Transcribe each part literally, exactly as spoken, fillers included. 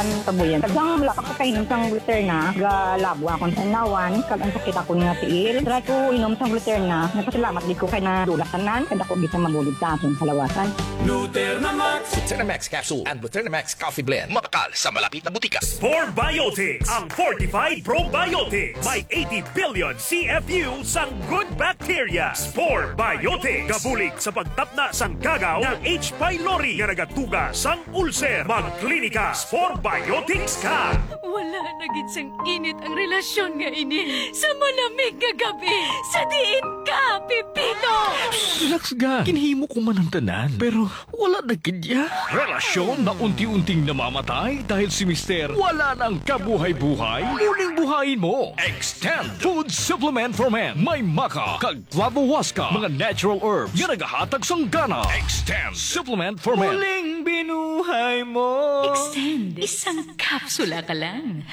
Ang kabuyan. Tagang wala pa ko kainom sang Gluterna, galabo akong tanawan, kag ang sakit akon nga tiil. Try ko inom sang Gluterna, nagpasalamat gid ko kay nadula tanan, kay dako gid sa mabulig sa akon kalawasan. Gluterna Max Capsule and Gluterna Max Coffee Blend. Mabakal sa malapit na butika. Spore Biotics, ang fortified probiotics. May eighty billion C F U sang good bacteria. Spore Biotics. Gabulig sa pagtapna sang gagaw nga H. pylori nga nagatuga sang ulcer. Magklinika Spore Biotics ka. Wala na gid sang init ang relasyon nga ini sa malamig nga gabi sa diin ka, Pipino! Relax, ga. Ginhimo ko man ang tanan, pero wala na gid ya. Relasyon na unti-unting namamatay dahil si Mister wala nang kabuhay-buhay. Muning buhayin mo. Extend Food Supplement for Men. May maca kag flavohuasca, mga natural herbs nga nagahatag sang gana. Extend Supplement for Men. Muling binuhay mo. Extend. Isang kapsula ka lang.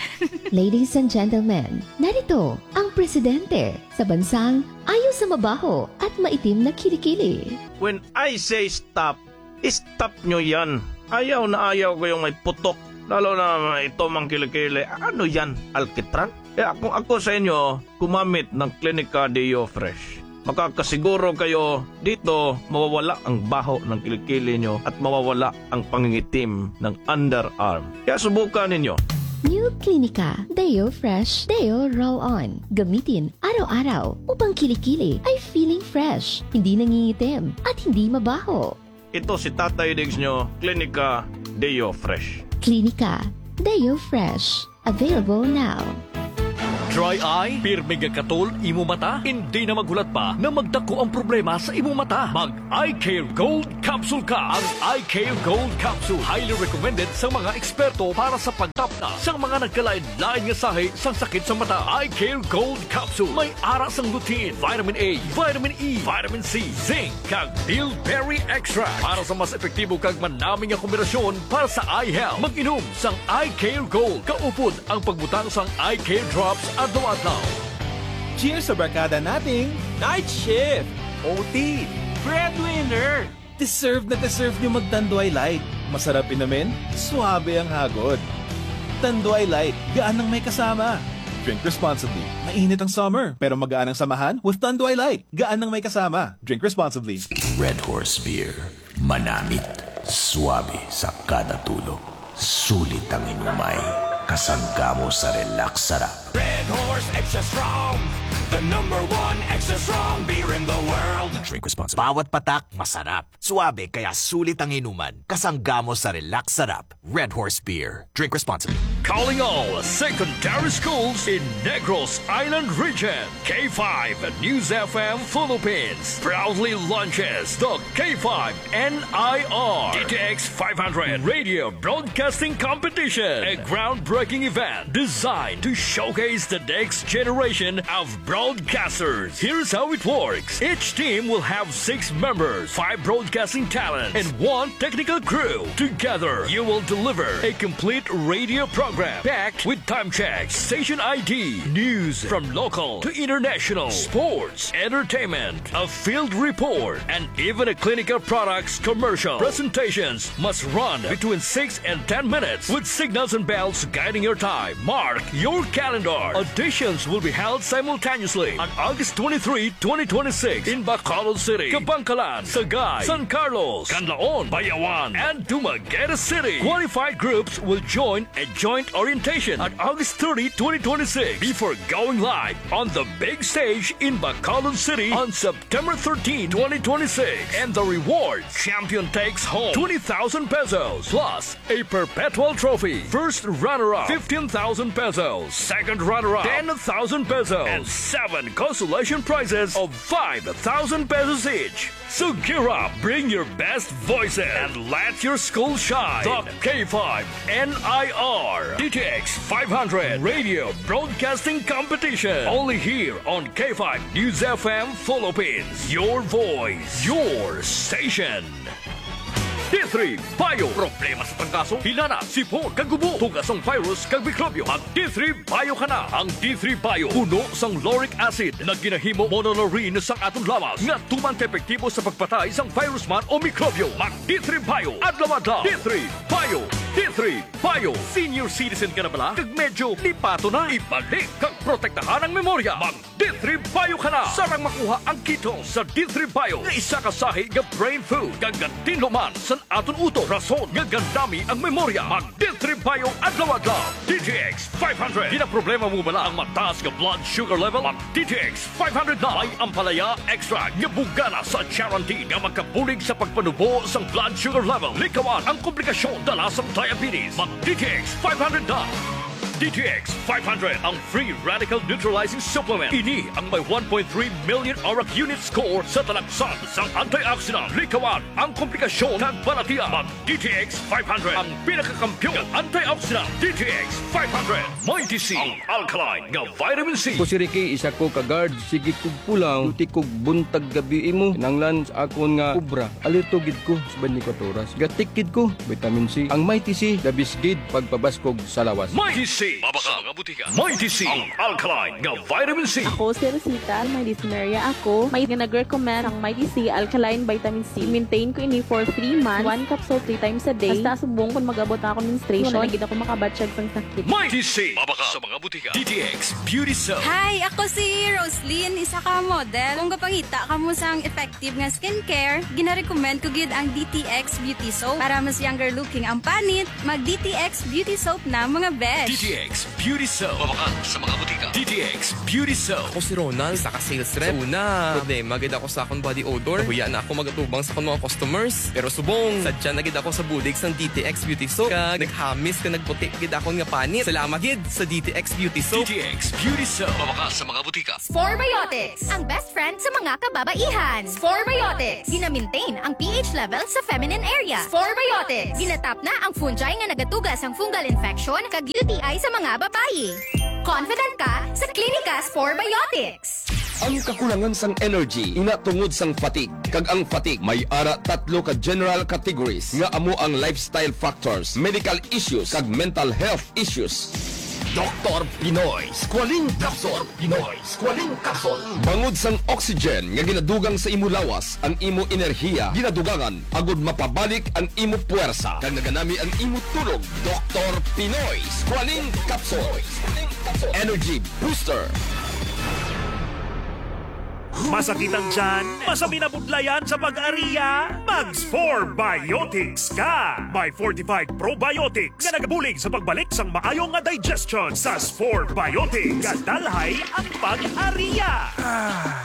Ladies and gentlemen, narito ang presidente sa bansang ayaw sa mabaho at maitim na kilikili. When I say stop, stop nyo yan. Ayaw na ayaw ko yung may putok. Lalo na ito mang kilikili. Ano yan? Alkitran? Kaya kung ako sa inyo, gumamit ng Clinica Deo Fresh. Makakasiguro kayo dito mawawala ang baho ng kilikili nyo at mawawala ang pangingitim ng underarm. Kaya subukan ninyo. New Clinica Deo Fresh Deo Roll On. Gamitin araw-araw upang kilikili ay feeling fresh, hindi nangingitim, at hindi mabaho. Ito si Tatay Diggs nyo, Clinica Deo Fresh. Clinica Deo Fresh. Available now. Dry eye, pirmi nga katol imo mata, hindi na maghulat pa na magdako ang problema sa imo mata. Mag Eye Care Gold Capsule ka. Ang Eye Care Gold Capsule, highly recommended sa mga eksperto para sa pagtapna sa mga nagkalain-lain nga sahi sang sakit sa mata. Eye Care Gold Capsule may ara sang lutein, vitamin A, vitamin E, vitamin C, zinc, kag bilberry extract para sa mas epektibo kag manami nga kombinasyon para sa eye health. Mag-inom sang Eye Care Gold. Kaupod ang pagbutang sang Eye Care Drops adlaw-adlaw. Cheers sa barkada nating Night Shift, O T, Breadwinner! Deserve na deserve nyo mag Tanduay Light. Masarap inumin, suabe ang hagod. Tanduay Light, gaan ang may kasama. Drink responsibly. Mainit ang summer, pero magaan ang samahan with Tanduay Light. Gaan ang may kasama. Drink responsibly. Red Horse Beer. Manamit, suabe sa kada tulo. Sulit ang inumay. Kasangga mo sa relax sarap. Red Horse Extra Strong, the number one extra strong beer in the world. Drink responsibly. Bawat patak, masarap. Suabe, kaya sulit ang inuman. Kasangga mo sa relax sarap. Red Horse Beer. Drink responsibly. Calling all secondary schools in Negros Island Region. K five News F M Philippines proudly launches the K five N I R D T X five hundred Radio Broadcasting Competition, a groundbreaking event designed to showcase the next generation of broadcasters. Here's how it works. Each team will have six members, five broadcasting talents, and one technical crew. Together, you will deliver a complete radio program packed with time checks, station I D, news from local to international, sports, entertainment, a field report, and even a clinical products commercial. Presentations must run between six and ten minutes with signals and bells guiding your time. Mark your calendar. Auditions will be held simultaneously on August twenty-three, twenty twenty-six in Bacolod City, Kabankalan, Sagay, San Carlos, Canlaon, Bayawan, and Dumaguete City. Qualified groups will join a joint orientation on August thirty, twenty twenty-six, before going live on the big stage in Bacolod City on September thirteen, twenty twenty-six. And the reward, champion takes home twenty thousand pesos plus a perpetual trophy. First runner-up, fifteen thousand pesos. Second runner-up, ten thousand pesos. And seven consolation prizes of five thousand pesos each. So gear up, bring your best voices, and let your school shine. The K five N I R D T X five hundred Radio Broadcasting Competition. Only here on K five News F M Philippines. Your voice, your station. D three Bio. Problema sa trangkaso, hilanat, sipon, kag ubo, tugas sang virus kag mikrobyo. Mag D three Bio ka na. Ang D three Bio puno sang lauric acid na ginahimo monolaurin sang aton lawas nga tuman ka epektibo sa pagpatay sang virus man o mikrobyo. Mag D three Bio adlaw-adlaw. D three Bio. D three Bio. Senior citizen ka na bala? Kag medyo lipato na? Ibalik kag protektahan ang memorya. Mag D three Bio ka na. Sarang makuha ang kit sa D three Bio nga isa ka sahi nga brain food kag gatinlo man sa aton utok, rason nga gandami ang memorya. Mag D three Bio adlaw-adlaw. D T X five hundred. Ginaproblema mo bala ang mataas nga blood sugar level? Mag D T X five hundred na. May ampalaya extract nga bugana sa charantin nga makabulig sa pagpanubo sang blood sugar level. Likawan ang komplikasyon dala sang diabetes. Mag D T X five hundred na. D T X five hundred, ang free radical neutralizing supplement. Ini ang may one point three million ORAC unit score sa talagsan sang antioxidant. Likawan ang komplikasyon kag balatian. Mag D T X five hundred, ang pinakakampiyon nga antioxidant. D T X five hundred, Mighty C, ang alkaline nga vitamin C. Ko si Ricky, isa ko ka guard. Sige kog pulaw, duty kog buntag gabi imo. Kinahanglan sa akon nga obra, alerto gid ko sa twenty-four oras. Gatik gid ko, vitamin C. Ang Mighty C, the best gid pagpabaskog sa lawas. Mighty C, mabaka sa mga butika. Mighty C, ang alkaline nga vitamin C. Ako si Rosita, may dysmenorrhea ako. May nga nag-recommend ang Mighty C alkaline vitamin C. Maintain ko ini for three months. One capsule three times a day. Hasta subong kung mag-abot na akong menstruation, wala na gid ako makabatyag sang sakit. Mighty C, mabaka sa mga butika. D T X Beauty Soap. Hi, ako si Roslyn, isa ka model. Kung gapangita kamo sang effective nga skincare, ginarecommend ko gid ang D T X Beauty Soap para mas younger looking ang panit. Mag D T X Beauty Soap na, mga besh. D T X Beauty Soap. Mabakal sa mga butika. D T X Beauty Soap. Ako si Ronald, isa ka sales rep. Sa una, problema gid ako sa akong body odor. Nahuya na ako magatubang sa akong mga customers. Pero subong, sadya na gid ako sa bulig sang D T X Beauty Soap. Kag naghamis kag nagputi gid akon nga panit. Salamat gid sa D T X Beauty Soap. D T X Beauty Soap. Mabakal sa mga butika. Spore Biotics, ang best friend sa mga kababaihan. Spore Biotics, gina-maintain ang P H level sa feminine area. Spore Biotics, ginatap na ang fungi nga nagatuga sang fungal infection kag U T I sa mga babayi. Confident ka sa Klinika Spore Biotics. Ang kakulangan sang energy, ina tungod sang fatigue, kag ang fatigue may ara tatlo ka general categories nga amo ang lifestyle factors, medical issues, kag mental health issues. Doktor Pinoy, Squalene Capsule. Pinoy, Squalene Capsule. Bangod sang oxygen nga ginadugang sa imo lawas, ang imo enerhiya ginadugangan agud mapabalik ang imo puwersa, kag naganami ang imo tulog. Doktor Pinoy, Squalene Capsule. Energy Booster. Masakit ang tiyan? Masabi na budlayan sa pag-ariya? Mag Spore Biotics ka! May fortified probiotics nga nagabulig sa pagbalik sang maayo nga digestion. Sa Spore Biotics, gadalhay ang pag-ariya.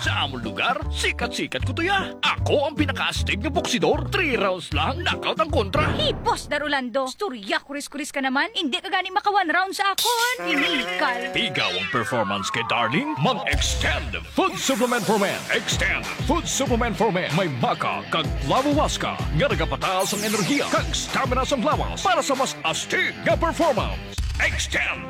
Sa amon lugar, sikat-sikat ko to ya. Ako ang pinakaastig nga boksidor. Three rounds lang, knockout ang kontra. Hipos, Dar Orlando. Istorya, kuris-kuris ka naman. Hindi ka gani maka one round sa akon. Inikal. Pigaw ang performance kay Darling? Mag-Extend Food Supplement for Men. Extend Food Supplement for Men. May maca kag flavowaska nga nagapataas ang enerhiya kag stamina sang lawas para sa mas astig nga performance. Extend.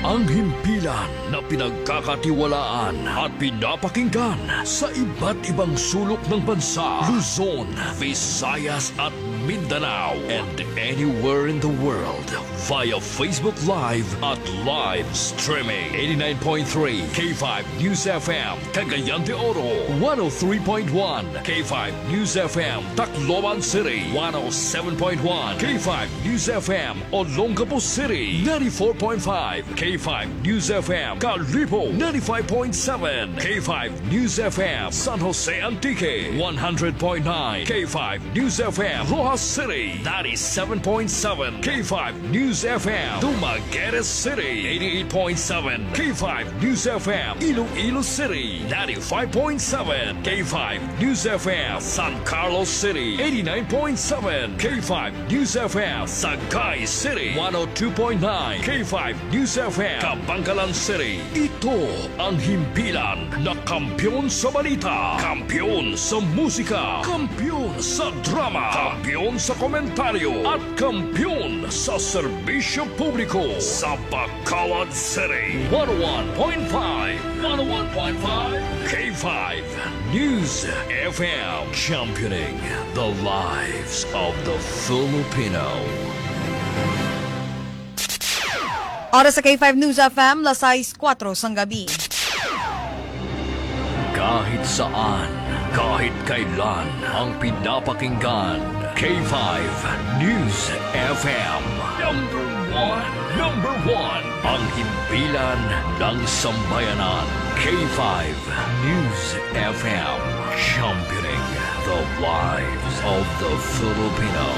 Ang himpilan na pinagkakatiwalaan at pinapakinggan sa iba't ibang sulok ng bansa, Luzon, Visayas at Mindanao, and anywhere in the world via Facebook Live at live streaming. Eighty-nine point three K five News F M, Cagayan de Oro, one oh three point one K five News F M, Tacloban City, one oh seven point one K five News F M, Olongapo City, ninety-four point five K five News F M, Kalibo, ninety-five point seven K five News F M, San Jose Antique, one hundred point nine K five News F M, Roxas City, ninety-seven point seven K five News F M, Dumaguete City, eighty-eight point seven K five News F M, Iloilo City, ninety-five point seven K five News F M, San Carlos City, eighty-nine point seven K five News F M, Sagay City, one oh two point nine K five News F M, Kabankalan City. Ito ang himpilan na kampiyon sa balita, kampiyon sa musika, kampiyon sa drama, kampiyon sa komentaryo, at kampiyon sa serbisyo publiko. Sa Bacolod City, one oh one point five, one oh one point five K five News F M, championing the lives of the Filipino. Oras sa K five News F M, las sais kuwatro sang gabi. Kahit saan, kahit kailan, ang pinapakinggan, K five News F M. Number one, number one. Ang himpilan ng sambayanan. K five News F M. Championing the lives of the Filipino.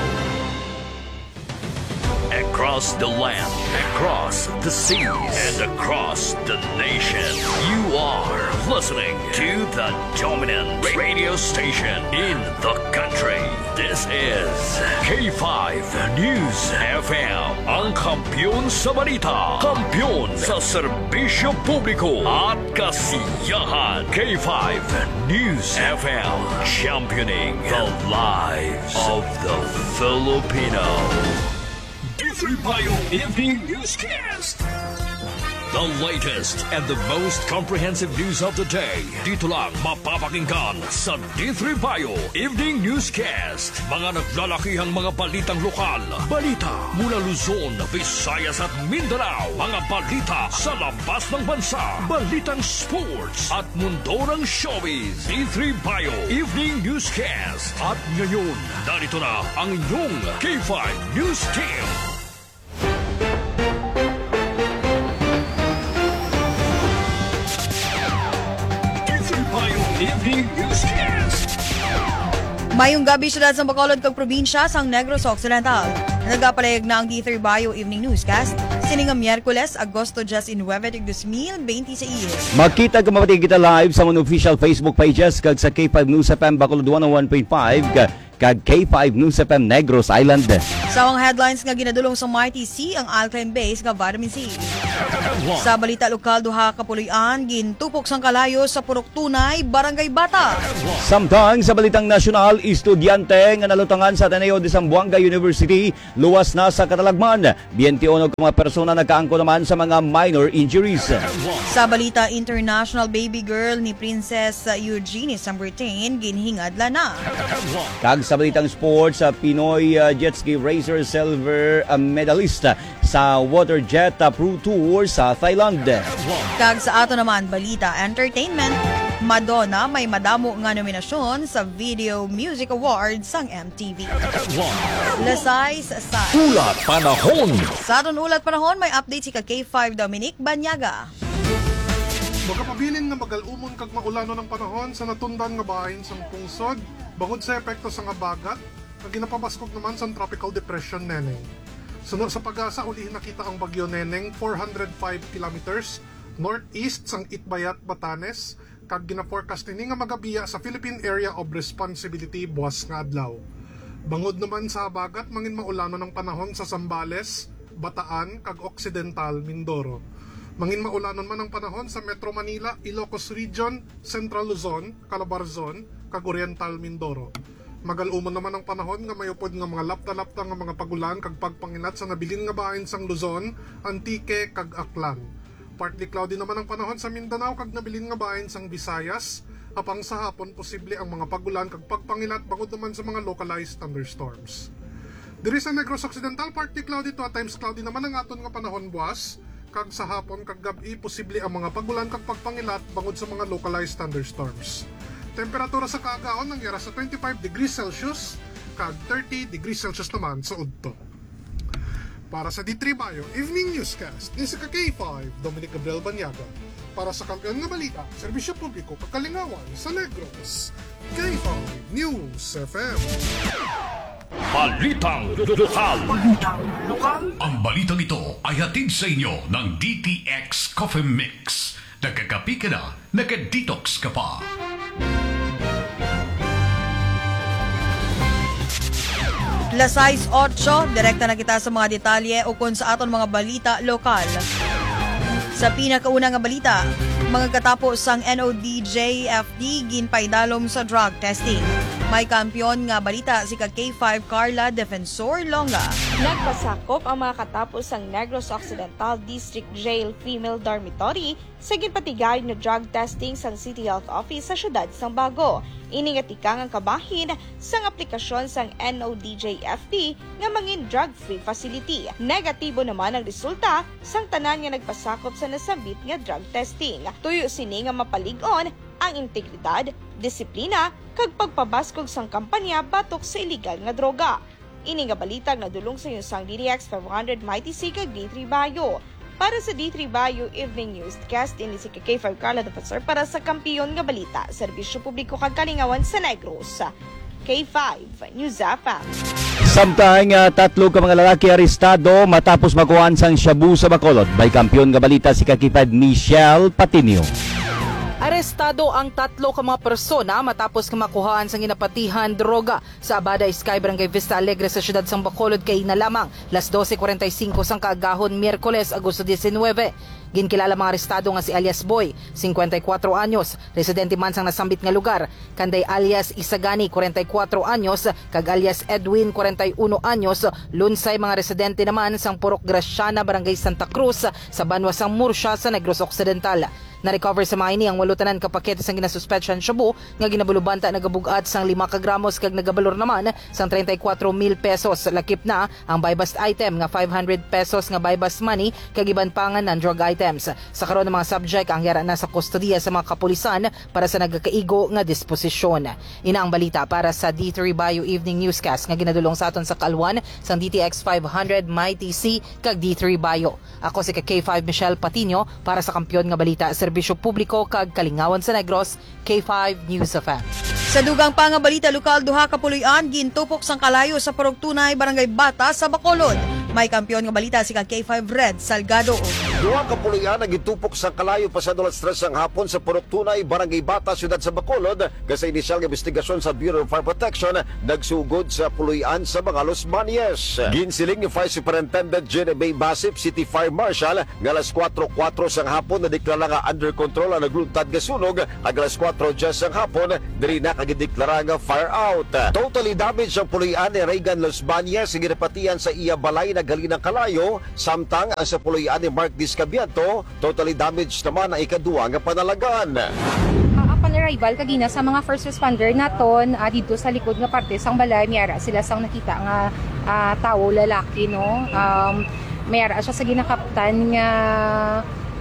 Across the land, across the seas, and across the nation, you are listening to the dominant radio station in the country. This is K five News F M, ang kampiyon sa balita, kampiyon sa serbisyo publiko at kasiyahan. K five News F M, championing the lives of the Filipino. D three Bio Evening Newscast. The latest and the most comprehensive news of the day. Dito lang mapapakinggan sa D three Bio Evening Newscast. Mga naglalakihang mga balitang lokal. Balita mula Luzon, Visayas at Mindanao. Mga balita sa labas ng bansa. Balitang sports at mundo ng showbiz. D three Bio Evening Newscast. At ngayon, narito na ang inyong K five News Team. Evening Newscast. Mayong gabi, syudad sang Bacolod kag probinsya sang Negros Occidental. Nagapalayag na ang D three Bio Evening Newscast sini nga Miyerkules, Agosto diecinuebe, tig dos mil beintiséis. Makita kag mapati kita live sa amon official Facebook pages kag sa K five News F M Bacolod one oh one point five ka-, kag K five News F M Negros Island. Sa mga headlines nga ginadulong sa Mighty C ang alkaline base nga vitamin C. Sa balita lokal, duha ka puloy-an gintupok sang kalayo sa Purok Tunay, Barangay Bata. Samtang sa balitang nasyonal, estudyante nga nalutangan sa Ateneo de Zamboanga University luwas na sa katalagman. Biyente uno ka mga persona nagkaangkon naman sa mga minor injuries. Sa balita international, baby girl ni Princess Eugenie Sambertain ginhingadlan na. Kag sa balitang sports, sa Pinoy, uh, jet ski racer silver, uh, medalist, uh, sa water jet, uh, pro tour sa Thailand. Kag sa ato naman balita entertainment, Madonna may madamo nga nominasyon sa Video Music Awards sang M T V. Lasay sa sa Ulat panahon. Sa aton ulat panahon, may update si ka K five Dominic Banyaga. Magapabilin nga magal-umon kag maulanon ang panahon sa natundan nga bahin sang pungsod, bangod sa epekto sang habagat nga ginapabaskog naman sang Tropical Depression Neneng. Suno sa PAGASA, ulihi nakita ang Bagyo Neneng four hundred five kilometers northeast sang Itbayat, Batanes, kag gina-forecast ini nga magabiya sa Philippine Area of Responsibility buas nga adlaw. Bangod naman sa habagat, mangin maulanon ang panahon sa Zambales, Bataan, kag Occidental Mindoro. Mangin maulanon man ang panahon sa Metro Manila, Ilocos Region, Central Luzon, Calabarzon, kag Oriental Mindoro. Magal-umon naman ang panahon nga may upod nga mga lapta-lapta nga mga pag-ulan kag pagpanginat sa nabilin nga bahin sang Luzon, Antique, kag Aklan. Partly cloudy naman ang panahon sa Mindanao kag nabilin nga bahin sang Visayas, apang sa hapon posible ang mga pag-ulan kag pagpanginat bangod naman sa mga localized thunderstorms. Diri sa Negros Occidental, partly cloudy to at times cloudy naman ang aton nga panahon buas, kag sa hapon kag gab-i posible ang mga pag-ulan kag pagpanginat bangod sa mga localized thunderstorms. Temperatura sa kaagaon nangyara sa twenty-five degrees Celsius kag thirty degrees Celsius naman sa udto. Para sa D three Bio Evening Newscast, ni sa ka K five, Dominic Gabriel Banyaga. Para sa kampiyon nga balita, serbisyo publiko, kag kalingawan sa Negros, K five News F M. Balitang lokal. Balitang lokal. Ang balitang ito ay hatid sa inyo ng D T X Coffee Mix. Nagkakape ka na, naka-detox ka pa. Las sais otso, direkta na kita sa mga detalye ukon sa aton mga balita lokal. Sa pinakauna nga balita, mga katapo sang N O D J F D ginpaidalom sa drug testing. May kampiyon nga balita si ka K five Carla Defensor Longa. Nagpasakop ang mga katapo sang Negros Occidental District Jail Female Dormitory sa ginpatigayod nga drug testing sang City Health Office sa siyudad sang Bago. Ini nga tikang ang kabahin sang aplikasyon sang N O D J F D nga mangin drug-free facility. Negatibo naman ang resulta sang tanan nga nagpasakop sa nasambit nga drug testing. Tuyo sini nga mapalig-on ang integridad, disiplina, kag pagpabaskog sang kampanya batok sa iligal nga droga. Ini nga balita ang nadulong sa inyo sang D T X five hundred Mighty C kag D three Bayo. Para sa D three Bayo Evening Newscast, ini si K five Carla Defensor para sa Kampiyon nga Balita, Serbisyo Publiko kag Kalingawan sa Negros. K five News F M. Samtang, ah, tatlo ka mga lalaki arestado matapos makuhaan sang shabu sa Bacolod. May kampiyon nga balita si K five Michelle Patinio. Arestado ang tatlo ka mga persona matapos nga makuhaan sang ginapatihan droga sa Abada Sky, Barangay Vista Alegre sa siyudad sang Bacolod kay na lamang las doce cuarenta y cinco sang kaagahon, Miyerkules, Agosto diecinueve. Ginkilala mga arestado nga si alias Boy, cincuenta y cuatro anyos, residente man sang nasambit nga lugar, kanday alias Isagani, cuarenta y cuatro anyos, kag alias Edwin, cuarenta y uno anyos, lunsay mga residente naman sang Purok Graciana, Barangay Santa Cruz, sa banwa sang Murcia sa Negros Occidental. Na-recover sa mga ini ang walo tanan ka pakete sang ginasuspetsyahan shabu nga ginabulubanta nagabug-at sang lima ka gramos kag nagabalor naman sang treinta y cuatro mil pesos. Lakip na ang buy-bust item nga five hundred pesos nga buy-bust money kag iban pa nga non-drug items. Sa karon, ang mga subject ang yara na sa kustodiya sa mga kapulisan para sa nagakaigo nga disposisyon. Ina ang balita para sa D three Bayo Evening Newscast nga ginadulong sa aton sa kaalwan sang D T X five hundred, Mighty C, kag D three Bayo. Ako si ka K five Michelle Patino para sa Kampiyon nga Balita, Serbisyo Publiko kag Kalingawan sa Negros, K five News F M. Sa dugang pa nga balita lokal, duha ka puloy-an gintupok sang kalayo sa Purok Tunay, Barangay Bata sa Bacolod. May kampiyon nga balita si ka K five Red Salgado. Duha ka puloy-an ang gintupok sang kalayo pasado alas tres sang hapon sa Purok Tunay, Barangay Bata, siyudad sa Bacolod. Kag sa inisyal nga investigasyon sa Bureau of Fire Protection, nagsugod sa puloy-an sa mga losmanyes. Ginsiling ni Fire Superintendent Jenny Bay Basip, City Fire Marshal, nga alas kuwatro kuwatro sang hapon nadeklara nga under control ang nagluntad nga sunog, kag alas kuwatro dyes sang hapon diri na ka gindeklara nga fire out. Totally damaged ang puloy-an ni Reagan Losmanyes nga ginapatihan sa iya balay naghalin ang kalayo, samtang ang sa puloy-an ni Mark Discabianto, totally damaged naman ang ikaduha nga panalagan. Ah, upon arrival kagina sa mga first responder naton, ah, didto sa likod nga parte sang balay, may ara sila sang nakita nga, ah, tawo, lalaki, no? Um, may ara siya sa ginakaptan nga,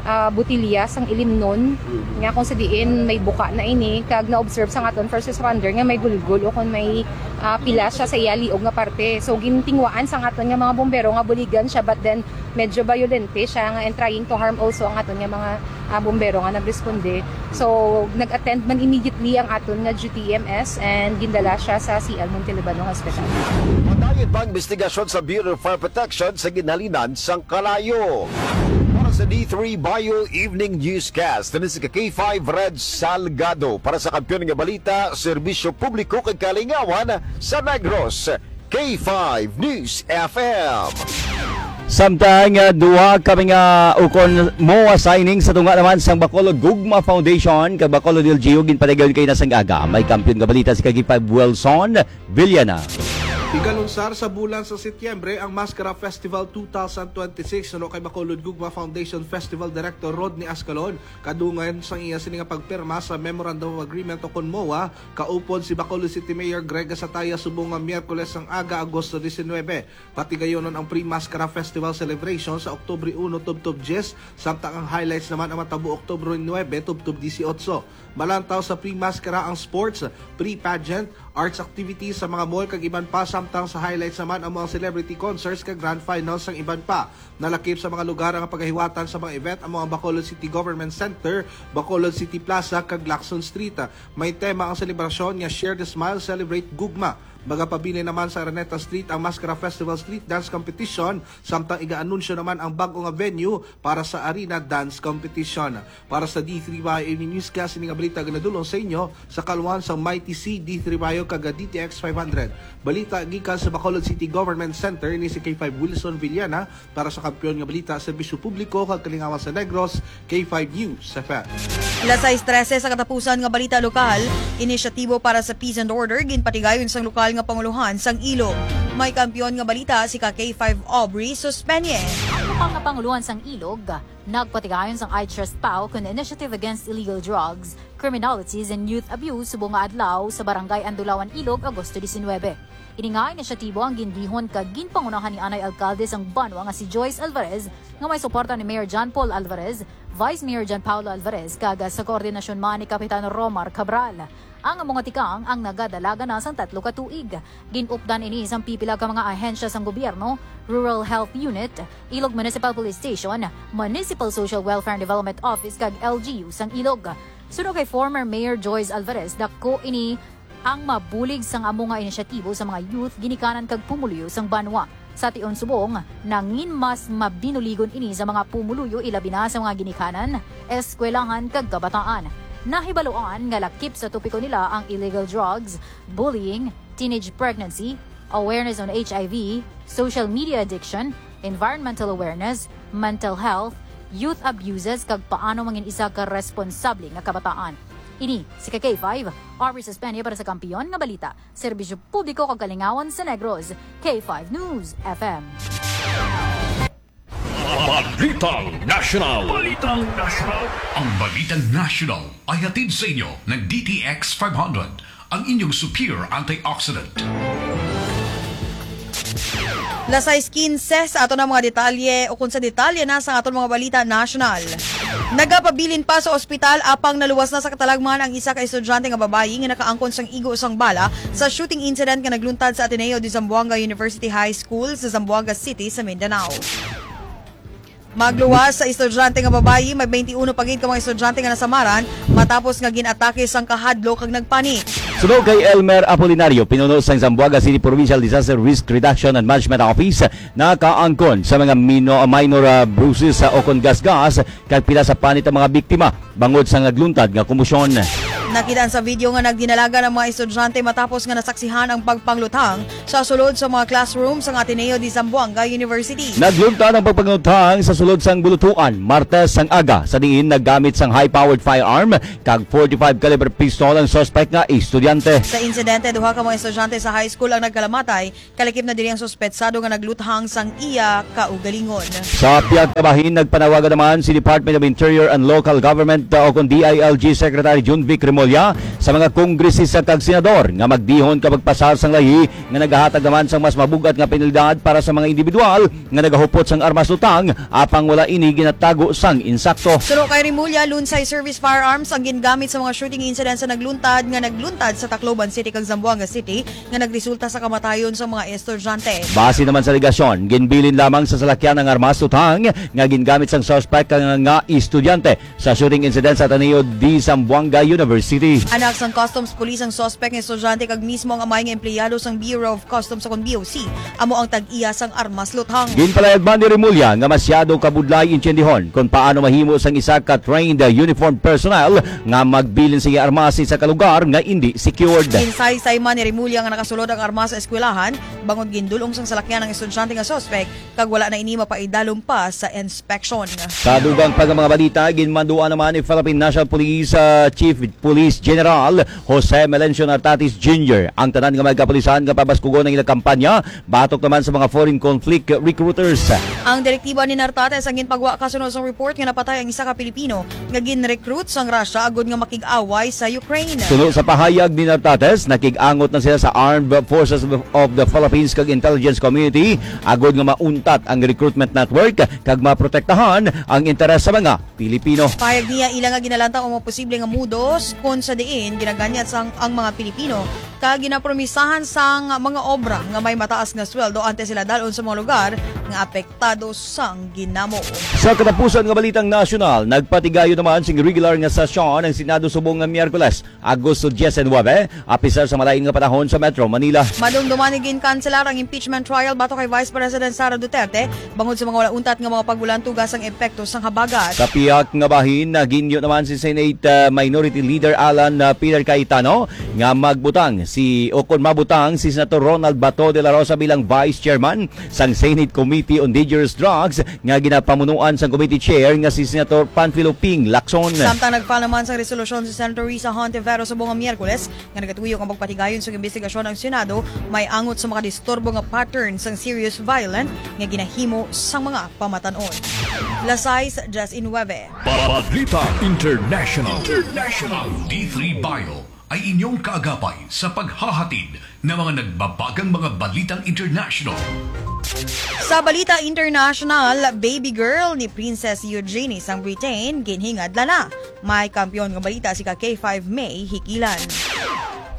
ah, botilya sang ilimnon, nga kung sa diin may buka na ini, kag na-observe sang aton first responder nga may gulgol o kung may, ah, pila siya sa iya liog nga parte. So, gintingwaan sang aton nga mga bombero nga buligan siya, but then medyo bayolente siya nga and trying to harm also ang aton nga mga, ah, bombero nga nagresponde. So, nag-attend man immediately ang aton nga duty E M S and gindala siya sa C L Montelibano Hospital. Padayon pa ang investigasyon sa Bureau of Fire Protection sa ginhalinan sang kalayo. Para sa D three Bayo Evening Newscast, ini si ka K five Red Salgado para sa Kampiyon nga Balita, Serbisyo Publiko kag Kalingawan sa Negros. K five News F M. Samtang, ah, duha ka mga ukon MOA signing sa tunga naman sang Bacolod Gugma Foundation kag Bacolod L G U ginpatigayon kay na sang aga. May kampiyon nga balita si ka K five Wilson Villana. Igalunsar sa bulan sa Setyembre ang Maskara Festival two thousand twenty-six, suno kay Bacolod Gugma Foundation Festival Director Rodney Ascalon, kadungan sang iya sini nga pagpirma sa Memorandum of Agreement ukon MOA, kaupod si Bacolod City Mayor Greg Gasataya subong nga Miyerkules sang aga, Agosto diecinuebe. Patigayonon ang Pre-Maskara Festival Celebration sa Oktubre uno tubtob dyes, samtang ang highlights naman ang matabo Oktubre nuebe tubtob disiotso. Malantaw sa Pre-Maskara ang sports, pre-pageant, arts activities sa mga mall kag iban pa, samtang sa highlights naman ang mga celebrity concerts kag grand finals sang iban pa. Nalakip sa mga lugar ang pagahiwatan sa mga event amo ang Bacolod City Government Center, Bacolod City Plaza, kag Lacson Street. May tema ang selebrasyon nga Share the Smile, Celebrate Gugma. Magapabilin naman sa Araneta Street ang Maskara Festival Street Dance Competition, samtang iga-anunsyo naman ang bag-o nga venue para sa Arena Dance Competition. Para sa D three Bayo Evening Newscast, ini nga balita ginadulong sa inyo sa kaalwan sang Mighty C, D three Bayo, kag D T X five hundred. Balita gikan sa Bacolod City Government Center, ini si K five Wilson Villana para sa Kampiyon nga Balita, Serbisyo Publiko kag Kalingawan sa Negros, K five News F M. Alas sais trese sa katapusan nga balita lokal, inisyatibo para sa peace and order ginpatigayon sang lokal nga pangulohan sang Ilog. May kampiyon nga balita si ka K five Aubrey Suspeñe. Ang lokal nga pangulohan sang Ilog nagpatigayon sang I Trust Pao kon Initiative Against Illegal Drugs, Criminalities, and Youth Abuse subong nga adlaw sa Barangay Andulawan, Ilog, Agosto diecinuebe. Ini nga inisyatibo ang gindihon kag ginpangunahan ni anay alkalde sang banwa nga si Joyce Alvarez, nga may suporta ni Mayor John Paul Alvarez, Vice Mayor John Paulo Alvarez, kag sa koordinasyon man ni Kapitan Romar Cabral. Ang amo nga tikang ang nagadalagan na sang tatlo ka tuig. Gin-updan ini sang pipila ka mga ahensya sang gobyerno, Rural Health Unit, Ilog Municipal Police Station, Municipal Social Welfare and Development Office, kag L G U sang Ilog. Suno kay former Mayor Joyce Alvarez, dako ini ang mabulig sang amo nga inisyatibo sa mga youth, ginikanan kag pumuluyo sang banwa. Sa tion subong, nangin mas mabinuligon ini sa mga pumuluyo, ilabi na sa mga ginikanan, eskwelahan kag kabataan. Nahibaluan nga lakip sa topiko nila ang illegal drugs, bullying, teenage pregnancy, awareness on H I V, social media addiction, environmental awareness, mental health, youth abuses, kag paano mangin isa ka responsable nga kabataan. Ini si K five, Aubrey Sespeña para sa Kampiyon nga Balita, Serbisyo Publiko kag Kalingawan sa Negros, K five News F M. Balitang National. Balitang National. Ang Balitang National ay hatid sa inyo ng D T X five hundred, ang inyong superior antioxidant. Las sais quince, sa ato na mga detalye o kung sa detalye na sa aton mga balita national. Nagapabilin pa sa ospital apang naluwas na sa katalagman ang isa ka estudyante nga babayi nga nakaangkon sang igo sang bala sa shooting incident nga nagluntad sa Ateneo de Zamboanga University High School sa Zamboanga City sa Mindanao. Magluwas sa estudyante nga babayi, may twenty-one pa gid ka mga estudyante nga nasamaran matapos nga gin-atake sang kahadlok kag nagpani. Suno kay Elmer Apolinario, pinuno sang Zamboanga City Provincial Disaster Risk Reduction and Management Office, nakaangkon sa mga mino-, minor, ah, bruises sa ukon gasgas kag pila sa panit ang mga biktima bangod sa nagluntad nga komosyon. Nakit-an sa video nga nagdinalagan ang mga estudyante matapos nga nasaksihan ang pagpangluthang sa sulod sa mga classroom sang Ateneo de Zamboanga University. Nagluntad ang pagpangluthang sa sulod sang bulutuan, Martes sang aga, sa diin naggamit sang high-powered firearm kag forty-five caliber pistol ang suspect nga estudyante. Sa insidente, duha ka mga estudyante sa high school ang nagkalamatay, kalakip na diri ang suspetsado nga nagluthang sang iya kaugalingon. Sa pihak nga bahin, nagpanawagan naman si Department of Interior and Local Government, uh, o kon D I L G Secretary Junvic Remulla sa mga kongresista kag senador nga magdihon ka magpasar sang lahi nga nagahatag naman sang mas mabug-at nga penalidad para sa mga individual nga nagahupot sang armas lutang apang wala ini ginatago sang insakto. Suno kay Remulla, lunsay service firearms ang gingamit sa mga shooting incidents sa nagluntad nga nagluntad sa Tacloban City kag Zamboanga City nga nagresulta sa kamatayon sa mga estudyante. Base naman sa alegasyon, ginbilin lamang sa salakyan ang armas lutang nga gingamit sang suspect nga, nga estudyante sa shooting incident sa Ateneo de Zamboanga University. Anak sang Customs Police ang suspect nga estudyante kag mismo ang amay nga empleyado sang Bureau of Customs o kon B O C, amo ang tag-iya sang armas lutang. Ginpalayag man ni Remulla nga masyado kabudlay intiendihon kon paano mahimo sang isa ka trained uniform personnel nga magbilin sa iya armas sa isa ka lugar nga indi secured. Ginsaysay man ni Remulla nga nakasulod ang armas sa eskwelahan, bangod gindul-ong sang salakyan ang estudyante nga suspek kag wala na ini mapaidalom pa sa inspeksyon. Sa dugang pa nga mga balita, ginmanduan naman ni Philippine National Police, ah, Chief Police General Jose Melencio Nartates Junior ang tanan nga mga kapulisan nga pabaskugon ang ilang kampanya batok naman sa mga foreign conflict recruiters. Ang direktiba ni Nartates ang ginpagwa kasunod sang report nga napatay ang isa ka Pilipino nga gin-recruit sang Russia agud nga makig-away sa Ukraine. Suno sa pahayag ni Nartates, nakig-angot na sila sa Armed Forces of the Philippines kag Intelligence Community agud nga mauntat ang recruitment network kag maprotektahan ang interes sa mga Pilipino. Pahayag niya, ila nga ginalantaw ang mga posible nga modus kon sa diin ginaganyat sang ang mga Pilipino kag ginapromisahan sang mga obra nga may mataas nga sweldo antes sila dal-on sa mga lugar nga apektado sang ginamo. Sa katapusan nga balitang nasyonal, nagpatigayon naman sing regular nga sesyon ang Senado subong nga Miyerkules, Agosto diecinuebe, apisar sa malain nga panahon sa Metro Manila. Madumduman nga ginkanselar ang impeachment trial batok kay Vice President Sara Duterte bangod sa mga wala untat nga mga pagbulantuga sang epekto sang habagat. Sa pihak nga bahin, naginyo naman si Senate, ah, Minority Leader Alan, ah, Peter Cayetano nga magbutang si, o kon mabutang si Senator Ronald Bato de la Rosa bilang Vice Chairman sang Senate Committee on Dangerous Drugs nga ginapamunuan sang Committee Chair nga si Senator Panfilo Ping Lacson. Samtang nag-file naman sang resolusyon si Senator Risa Hontiveros subong nga Miyerkules nga nagatuyo nga magpatigayon sang imbestigasyon ang Senado may angot sa mga disturbo nga pattern sang serious violent nga ginahimo sang mga pamatan-on. Las sais diecinuebe. Balita International. International. D three Bio. ay inyong kaagapay sa paghahatid ng mga nagbabagang mga balitang international. Sa balita international, baby girl ni Princess Eugenie sang Britain ginhingadla na. May kampiyon nga balita si ka K five May Hikilan.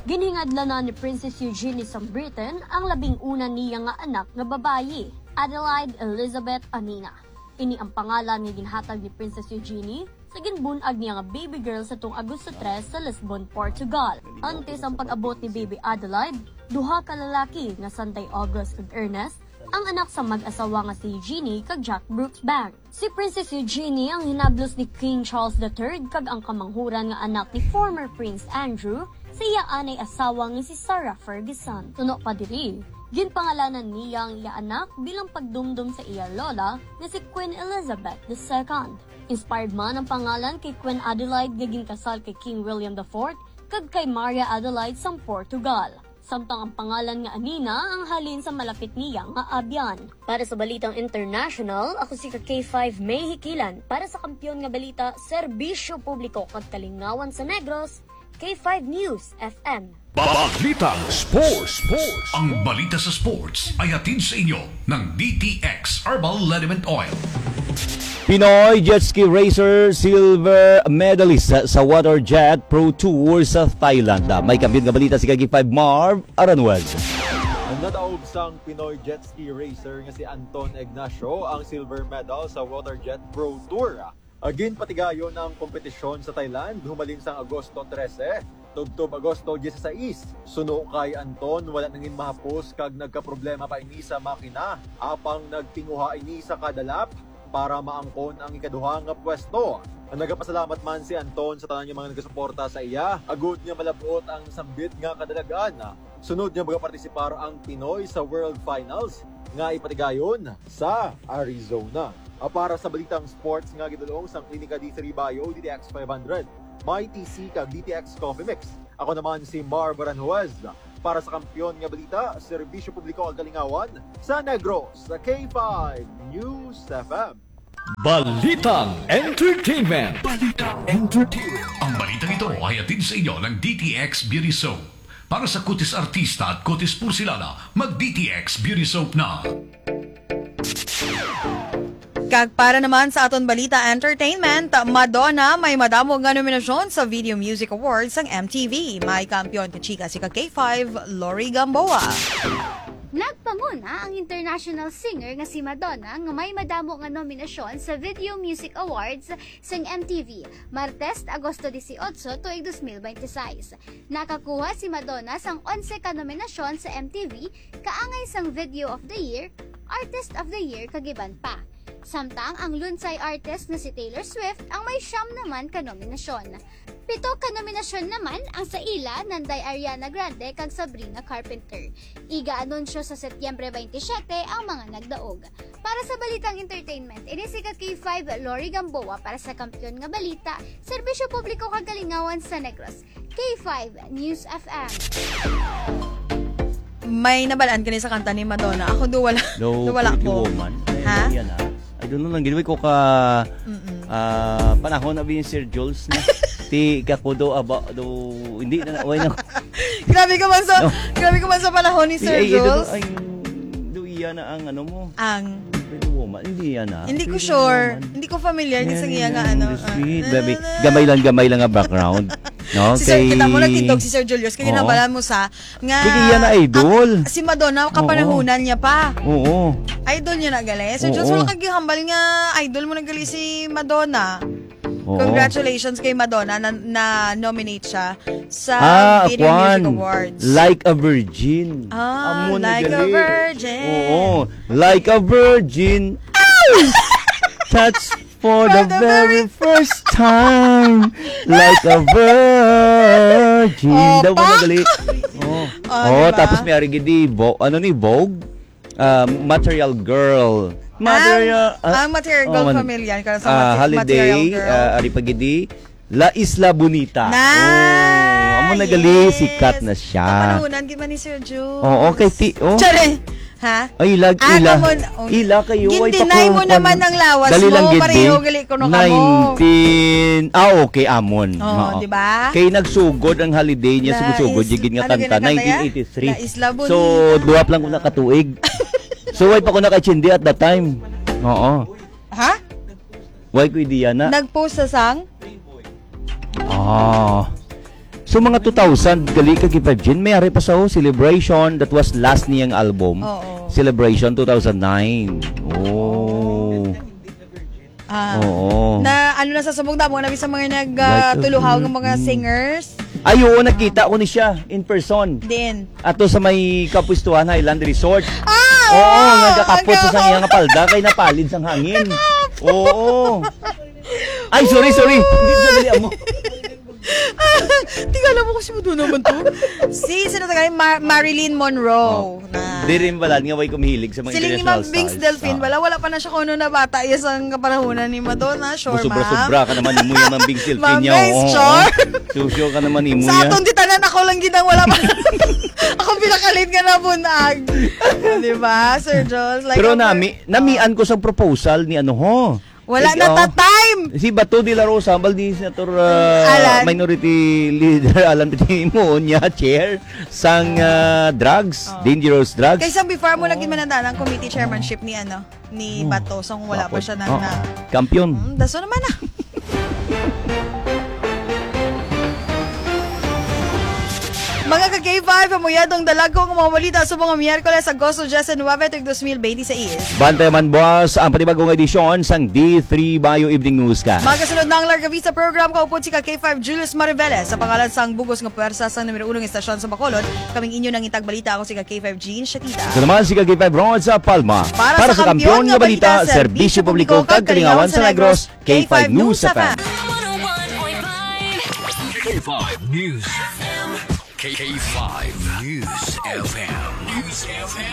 Ginhingadla na ni Princess Eugenie sang Britain ang labing una niya nga anak nga babayi, Adelaide Elizabeth Anina. Ini ang pangalan nga ginhatag ni Princess Eugenie sa ginbun-ag niya nga baby girl sa tuong Agosto tres sa Lisbon, Portugal. Antes ang pag-abot ni Baby Adelaide, duha ka lalaki nga Sanday August kag Ernest ang anak sa mag-asawa nga si Eugenie kag Jack Brooksbank. Si Princess Eugenie ang hinablos ni King Charles the third kag ang kamanghuran nga anak ni former Prince Andrew sa iya anay asawa nga si Sarah Ferguson. Suno pa diri, ginpangalanan niya ang iya anak bilang pagdumdom sa iya lola nga si Queen Elizabeth the second. Inspired man ang pangalan kay Queen Adelaide nga ginkasal kay King William the fourth kag kay Maria Adelaide sang Portugal. Samtang ang pangalan nga Anina ang halin sa malapit niya nga abyan. Para sa balitang international, ako si ka K five May Hikilan. Para sa kampiyon nga balita, serbisyo publiko kag kalingawan sa Negros, K five News F M. Balitang Sports. Sports. Ang balita sa sports ay hatid sa inyo ng D T X Herbal Liniment Oil. Pinoy jet ski racer silver medalist sa Water Jet Pro Tour sa Thailand. May kampiyon nga balita si ka K five Marv Aranwez. Nadaog sang Pinoy jet ski racer nga si Anton Ignacio ang silver medal sa Water Jet Pro Tour. Ginpatigayon ang kompetisyon sa Thailand humalin sang Agosto trese tubtob Agosto dieciséis. Suno kay Anton, wala na gid mahapos kag nagkaproblema pa ini sa makina, apang nagtinguha ini sa kada lap para maangkon ang ikaduha nga pwesto. Nagapasalamat man si Anton sa tanan nga mga nagasuporta sa iya, agud nga malab-ot ang sambit nga kadalagan. Sunod nga magapartisipar ang Pinoy sa World Finals nga ipatigayon sa Arizona. Ah, para sa balitang sports nga gidulong sang Klinika D three Bio, D T X five hundred, My T C kag D T X Coffee Mix. Ako naman si Marv Aranjuez. Para sa kampiyon nga balita, serbisyo publiko kag kalingawan sa Negros, sa K five News F M. Balitang Entertainment. Balitang Entertainment. Ang balitang ito ay hatid sa inyo ng D T X Beauty Soap. Para sa kutis artista at kutis porselana, mag D T X Beauty Soap na. Kag para naman sa aton balita entertainment, Madonna may madamo nga nominasyon sa Video Music Awards sang M T V. May kampiyon ka chika si ka K five, Lori Gamboa. Nagpanguna ang international singer nga si Madonna nga may madamo nga nominasyon sa Video Music Awards sang M T V, Martes, Agosto dieciocho, tuig dos mil veintiséis. Nakakuha si Madonna sang onse ka nominasyon sa M T V, kaangay sang Video of the Year, Artist of the Year, kag iban pa. Samtang ang Lunsay artist nga si Taylor Swift ang may siyam naman ka nominasyon. Pito ka nominasyon naman ang sa ila nanday Ariana Grande kag Sabrina Carpenter. Iga-anunsyo sa Setyembre twenty-seven ang mga nagdaog. Para sa balitang entertainment, ini si ka K five Lori Gamboa para sa Kampiyon nga Balita, Serbisyo Publiko kag Kalingawan sa Negros, K five News F M. May nabalaan ka ni sa kanta ni Madonna? Ako do wala. No, do wala Pretty ko. Woman. Ay, Ha? Yan ah. I don't know lang, gid, way ko ka, Mm-mm. ah, panahon na bin Sir Jules na. Ti, kako do, aba, do, hindi na, way na. Grabe ka man sa, No. grabe ka man sa panahon ni Ti, Sir ay, ito do, Jules. Ay, do, iya na ang ano mo. Ang Pretty Woman. Hindi yan ah. Hindi ko Pretty sure. Woman. Hindi ko familiar din sa Yan, iya yan, nga ano, the ah. sweet, baby. Gamay lang, gamay lang nga background. No? Si Sir, Kay kita mo, nagtindog si Sir Julius. Kaya Oo. Nabala mo sa, nga, Sige, yan na idol. ang, si Madonna, Oo. kapanahunan niya pa. Oo. Idol niya na gali. Sir Jules, Oo. wala kag gihambal nga idol mo na gali si Madonna. Oo. Congratulations kay Madonna na, na nominate siya sa Ah, Video Music kwan. Awards. Like a Virgin. Ah, Amo na Like a gali. Virgin. Oo. Like a virgin. Touch for For the the very very first time. Like a virgin. Oh, Daw mo pak! nagali. Oh. Oh, Oh, di ba? tapos may ari gid di Vo-, ano ni Vogue? Ah, Material Girl. Material, Ang, ah, ang Material oh, Girl man. Family, yan, kaya sa Ah, Mate-, Holiday, Material Girl. ah, ari pa gid di La Isla Bonita. Na! Oh, amo na gali, Yes! sikat na siya. Kapanahunan gid man ni Sir Jules. Oo, kay ti-, oh. Charing! Ha? Ay, ilag, Ah, ila. Kamon, oh. Ila kayo, ay, Gin-deny pakuha mo ko naman na. Ang lawas Dali mo, lang gid, pareho di. gali ko no kamo. Nineteen. Ah, okay, amon. Oh, Oo. Di ba? Kay nagsugod ang holiday niya, La sugod-sugod, Is-, jigid nga ano kanta, ginakanta ya? nineteen eighty-three. La Isla Bonita. So, duha pa lang ko nakatuig. So, way pa ko naka-H N D at that time. Oo. Ha? Way ko ideya na. Nag-post sa sang? Ah. So, mga two thousand, gali ka, K five Jean, may ari pa sa, oh, Celebration, that was last niyang album. Oo. Celebration two thousand nine. Oh. Ah, Oo. Na ano na sa subong damo na sa mga nag Like, uh, tuluhaw ng mga mm. singers. Ay, oo, nakita ko ni siya in person. Din. Ato sa may Kapustuhan Highland Resort. Ah! Oo, Wow! nagkakapot Ang sa gawa. Iyang palda kay napalid sang hangin. Oo. Ay, sorry, sorry. Hindi sa dali mo. Tingala mo kasi mo doon naman to. Si, sino tagay? Ma- Marilyn Monroe. Na. Di rin balad nga way kumihilig sa mga Siling ni international Ma'am Bings stars. Delfin, Ah. Wala, wala pa na siya kuno na bata iya sang kapanahunan ni Madonna. Sure, Sobra-sobra ma'am. Ka naman imo yan, Ma'am Bings Delfin. Ma'am Niya, Bings, oo. sure. Susyo ka naman imo Sa yan. Atong ditanan, ako lang gid ang wala pa. Ako pinakalit nga nabunag. O, di ba, Sir Jules? Like, Pero ako- nami, namian ko sa proposal ni ano ho. Wala Eh, na oh. ta time. Si Bato de la Rosa, ambal ni Senator uh, Alan. Minority Leader Alan Peter mo niya, chair sang uh, drugs, Oh. dangerous drugs. Kay sang before mo lagi manandaan ang committee chairmanship ni ano, ni Oh. Bato, sang wala pa Bakod. Siya na, Oh. na. Kampiyon. Hmm, daso naman na. Mga ka-K five, amuyadong dalago ang mga balita sa mga Miyerkules, Agosto disinuebe, tuig dos mil benti seis. Bantay man, boss, ang panibagong edisyon sang D three Bayo Evening News ka. Magasunod na ang Larga Vista program, kaupod si ka-K five Julius Mariveles. Sa pangalan sang bugos nga pwersa sang numero uno nga estasyon sa Bacolod, kaming inyo nang itagbalita, ako si ka-K five Jean Shatita. Ito naman si ka-K five Ron sa Palma. Para sa kampiyon nga balita, serbisyo publiko, kag kalingawan sa Negros, K five News F M. K five News F M. K five News F M. News F M.